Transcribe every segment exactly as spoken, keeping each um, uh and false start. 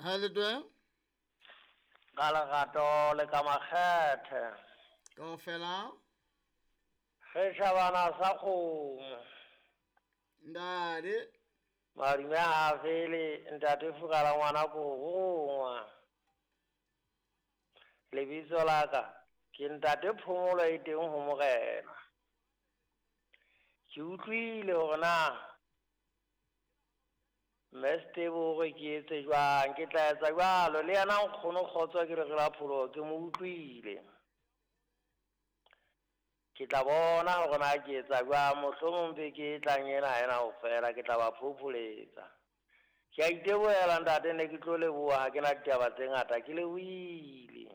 Ha le twe? Ka lerato le ka makgethe. Kaofela? Seshabana sa kgomo. Ndade. Madume a fele ntate Fukala ngwana ko. Lebitso la ka ke ntate Phomolo e teng ho morena. Ke utlwile hore na Meste bore ke etse jwang, ke tla etsa jwalo le yena nkgono kgotso ke re re la pholo ke mo utlwile. Ke tla bona hore na ke etsa jwang, mohlomong beke e tlang ena ha ena ho fela, ke tla ba phopholetsa. Ke a itebohela ntate, ne ke tlo leboha, ha ke na ditaba tse ngata, ke lebohile.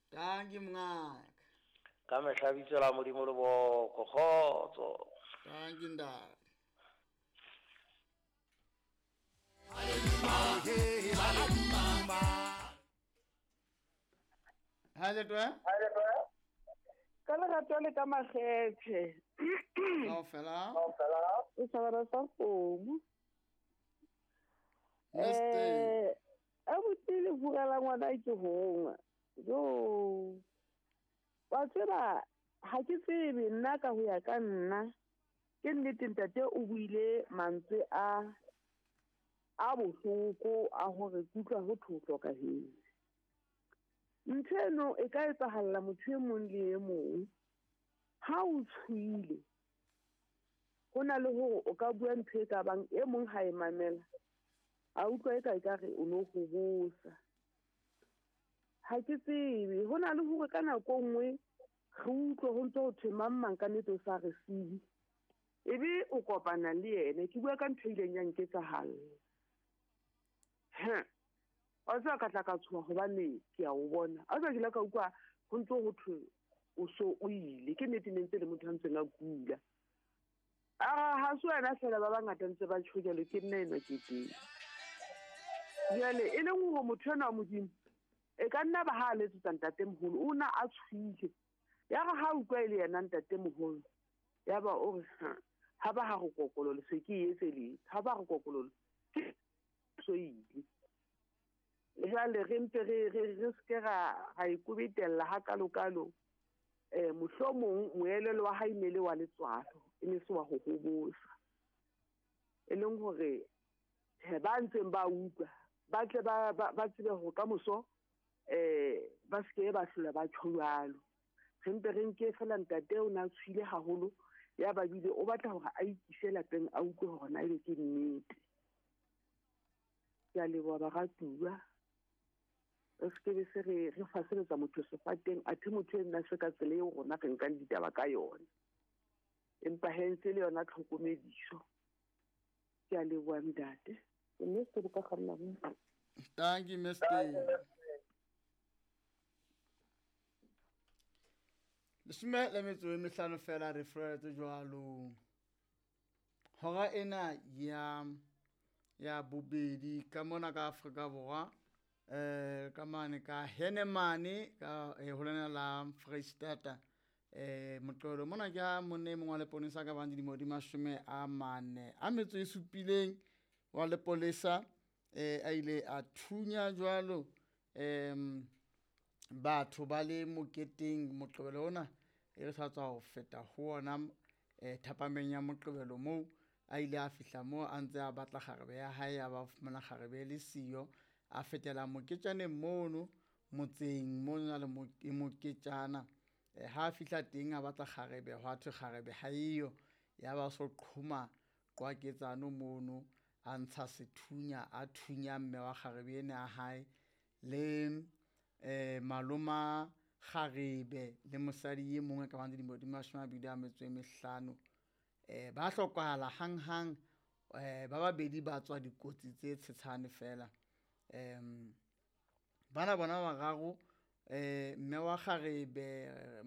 Dankie mongaka. Ka mehla bitso la Modimo le boko, kgotso. Dankie ntate. Ha le twe? Ka lerato le ka makgethe. Kaofela? O sabara sa kgomo. Meste. Eh, abuti le furela ngwana ke hongwa. Jo. Wa tseba ha ke tsebe nna ka ho ya ka nna. Ke nnete ntate o buile mantswe a a bohloko a hore kutlwa ho thotlo ka heng. Ntho eno e ka etsahalla motho e mong le e mong. Ha o tshohile, ho na le hore o ka bua ntho e ka bang e mong ha e mamela, a utlwa e ka ekare o no hobosa. Ha ke tsebe, ho na le hore ka nako e nngwe re utlwe ho ntse ho thwe mang mang ka nnete o sa re siye. Ebe o kopana le yena, ke bua ka ntho e ileng ya nketsahalla. Ha. Wa tseba ka tla ka tshoha hobane ke a o bona. A tseba ke ile ka utlwa ho ntse ho thwe o so o ile. Ke nnete ne ntse le motho a ntseng a kula. A ha se wena feela ba bangata ntse ba tjho jwalo, ke nna enwa ke teng. Jwale e leng hore motho enwa wa Modimo e ka nna ba ha a letsetsa ntatemoholo, o na a tshohile. Ya re ha utlwa e le yena ntatemoholo, ya ba o re ha, ha ba ha re kokololo se ke e etseletse, ha ba re kokololo ke so ile. Jwale re mpe re, re, re se ke ra, ra ikobetella hakalokalo. Eh, mohlomong moelelo wa hae ne le wa letswalo, e ne se wa ho hobosa. E leng hore, he, ba ntseng ba utlwa, ba tle ba, ba, ba tsebe hore ka moso, eh, ba se ke ba hlola ba tjho jwalo. Re mpe re nke feela ntate o na tshohile haholo, ya ba bile o batla hore a ikise lapeng a utlwe hore na ebe ke nnete. Ke a leboha baratuwa. Re se ke be se re, re faseletsa motho sefateng, athe motho e nna se ka tsela eo rona re nkang ditaba ka yona. Empa he ntse le yona tlhokomediso. Ke a leboha ntate. Mme se bo ka kganna mo. Thank you, Mister Leshome le metso e mehlano fela re furaletse jwalo. Hora ena ya, ya bobedi ka mona ka Afrika Borwa, eh, ka mane ka Henemane, ka, eh, ho lena la Freistata, eh, Moqebelo mona ke ha monna e mong wa leponesa ka bang dilemo di mashome a mane a metso e supileng wa lepolesa, eh, a ile a thunya jwalo, em, batho ba le moketeng Moqebelo ona e re sa tswa ho feta ho ona, eh, thapameng ya Moqebelo moo a ile a fihla moo a ntse a batla kgarebe ya hae, ya ba fumana kgarebe e le siyo, a fetela moketjaneng mono motseng mo na le mo-, moketjana. Eh, ha a fihla teng a batla kgarebe, hwa thwe kgarebe ha eyo, ya ba so qhoma qwaketsano mono, a ntsha sethunya, a thunya mme wa kgarebe ena ya hae le, eh, maloma kgarebe le mosadi e mongwe ka bang dilemo di mashome a mabedi a metso e mehlano. Eh, ba hlokahala hanghang, eh, ba babedi ba tswa dikotsi tse tshetshane fela. Em, bana bona ba bararo, eh, mme wa kgarebe,